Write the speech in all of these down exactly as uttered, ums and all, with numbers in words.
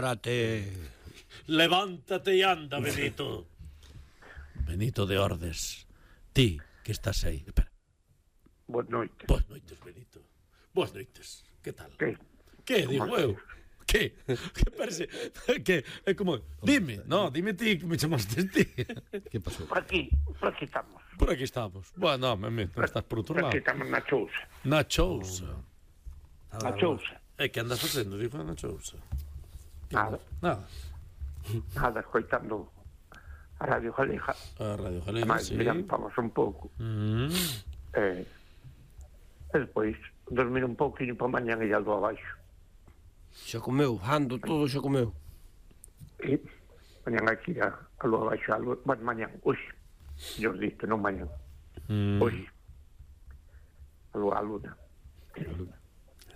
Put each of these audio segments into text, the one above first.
Prate. Levántate e anda, Benito. Benito de Ordes. Ti, que estás aí. Espera. Boas noites. Boas noites, Benito. Boas noites. Que tal? Que? Que, digo eu? Que? Que parece? Que? É como... Dime, no, dime ti, que me chamaste ti. Que pasou? Por aquí, por aquí estamos. Por aquí estamos. Bueno, no, me, non estás por outro Por lado. aquí estamos na chousa. Na chousa. Na chousa. É que andas facendo, digo, na chousa. Nada, Nada. nada, escoitando a Radio Galega. A Radio Galega, Mas sí. miramos un pouco. Mm. Eh, e despois dormir un pouquinho para mañan e algo abaixo. Xa comeu, ando todo xa comeu. E mañan aquí a, a lua abaixo, algo, bueno, mañan, hoxe. Yo dito, non mañan. Mm. Hoxe. A lua, a luna.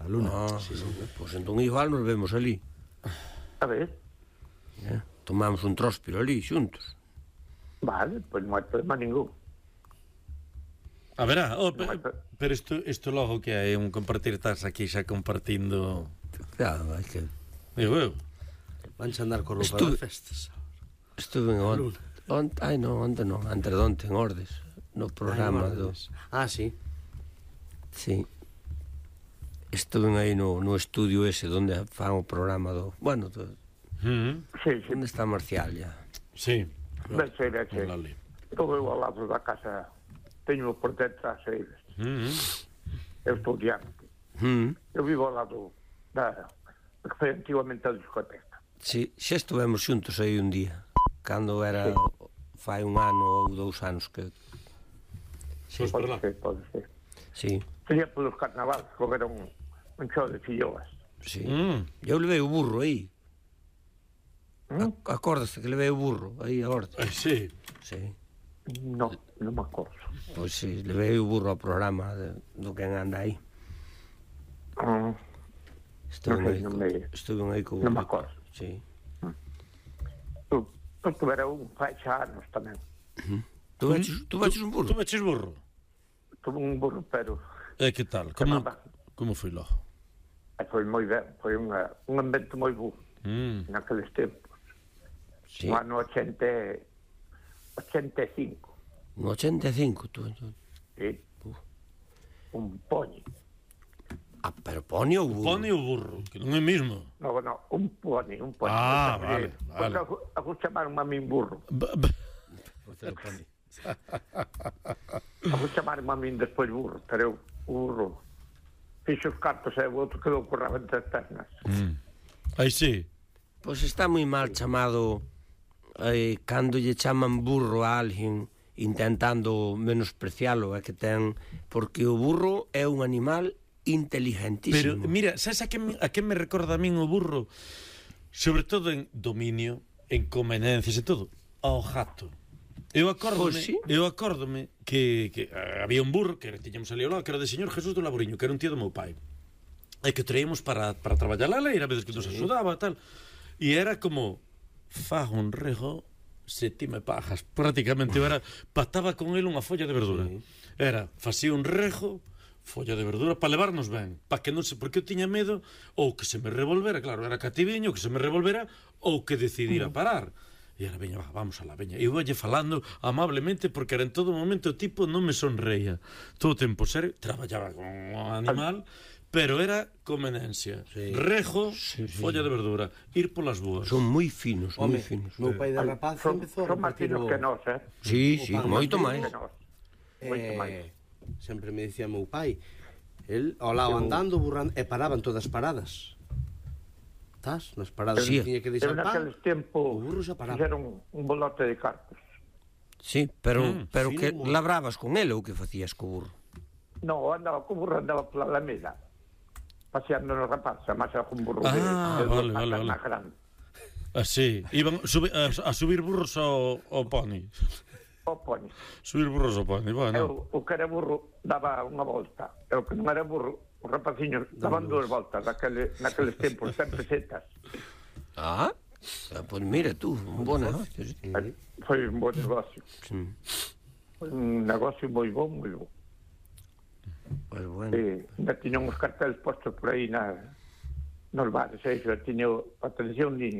A luna. Ah, sí, sí. Pois entón igual nos vemos ali. A ver, Eh? Tomamos un tróspiro ali, xuntos. vale, pois non hai problema ningún. A verá, oh, pe, pero isto, isto logo que hai un compartir, estás aquí xa compartindo. Claro, hai que... Digo eu. Vanse andar con roupa Estuve- de festas. Estuve en onte. Onte, ai non, onte non, antes de onte en Ordes, no programa Ai, do... Ah, sí. Sí. Estuve aí no, no estudio ese donde fan o programa do... Bueno, do... Mm. Sí, sí, onde está Marcial ya? Sí. vese, vese. Hola, Ali. Estou eu ao lado da casa, teño por detrás eles. Mm. Eu estou diante. Hmm. Eu vivo ao lado da que foi antigamente a discoteca. Sí, xa estuvemos xuntos aí un día. Cando era... Sí. Fai un ano ou dous anos que... Sos por Pode lá. ser, pode ser. Sí, Sería polos carnavales, porque era un, un show de filloas. sí. Mm. Eu levei o burro aí. ¿Mm? Acórdase que levei o burro aí a Ordes. Ai, sí. Sí. No, non me acordo. Pois sí, levei o burro ao programa de, do que anda aí. Mm, Estuve Non sei, aí, non co- me- estuve aí co non me acordo. Sí. Eu, eu tuvera un fai xa anos tamén. Tú veches, tú veches un Tú burro? meches burro? Tuve un burro, pero E que tal? Como, Chamaba. como foi logo? eh, foi moi ben, foi unha, un ambiente moi bo Mm. naqueles tempos. Sí. No ano ochenta, ochenta e cinco. No ochenta e cinco, tú. tú. Sí. Un poni. Ah, pero pone o burro. Pone o burro, que non é mismo. No, no, un poni, un poni. Ah, Porque- vale, vale. Porque a vos chamaron a min burro. B- b- A vos chamaron a min despois burro, pero eu, o burro, fixo os cartos e o outro quedou currado entre as pernas. Mm. Aí sí. Pois está moi mal chamado eh, cando lle chaman burro a alguén intentando menosprecialo, é que ten porque o burro é un animal Pero, inteligentísimo. mira, sabes a que, me- a que me recorda a min o burro? Sobre todo en dominio, en convenencias e todo. Ao gato. Eu acórdome, Pois sí. eu acórdome que, que eh, había un burro que tiñamos ali ao lado, que era de señor Jesús do Laboriño, que era un tío do meu pai. E que traíamos para, para traballar a leira, a veces que nos axudaba, tal. E era como, fago un rego se ti me pagas. Prácticamente, eu era, pataba con el unha folla de verdura. Sí. Era, facía un rego, folla de verdura, para levarnos ben. Para que non se, porque eu tiña medo, ou que se me revolvera, claro, era cativiño, que se me revolvera, ou que decidira parar. E era, veña, va, vamos a la veña. E eu valle falando amablemente, porque era en todo momento o tipo non me sonreía. Todo o tempo serio, traballaba con o animal, pero era convenencia. Sí. Rejo, folla de verdura, ir polas boas. Son moi finos, moi Home, finos. meu pai de rapaz Son, empezou a son máis repartir finos o... que nós, eh? Sí, o sí, pan moito máis máis. Que nós. Moito máis. Eh, sempre me dicía meu pai, el ao lado Eu- andando, burrando, e paraban todas paradas. Estás? Nas paradas Sí. que tiña que Eu deixar pan. naqueles tempos o burro xa paraba. fixeron un bolote de cartos. Sí, pero Mm, pero fino que moi. labravas con ele ou que facías co burro? No, andaba co burro, andaba pola Alameda, paseando nos rapazes, a máis algún burro Ah, de, de vale, dos vale, patas vale. máis grandes. Así, iban subi, a, a subir burros ao, ao pony. O poni. Subir burros ao pony, bueno. Eu, o que era burro daba unha volta, e o que non era burro, os rapaciños daban dúas voltas naquele, naqueles tempos, sempre setas. Ah, ah pois mira tú, un bon negocio. Sí. Eh, Foi un bon negocio. Sí. Foi un negocio moi bon, moi bon. Pois bueno. E ainda tiñan os carteles postos por aí na, nos bares, e iso, tiño, atención, niño,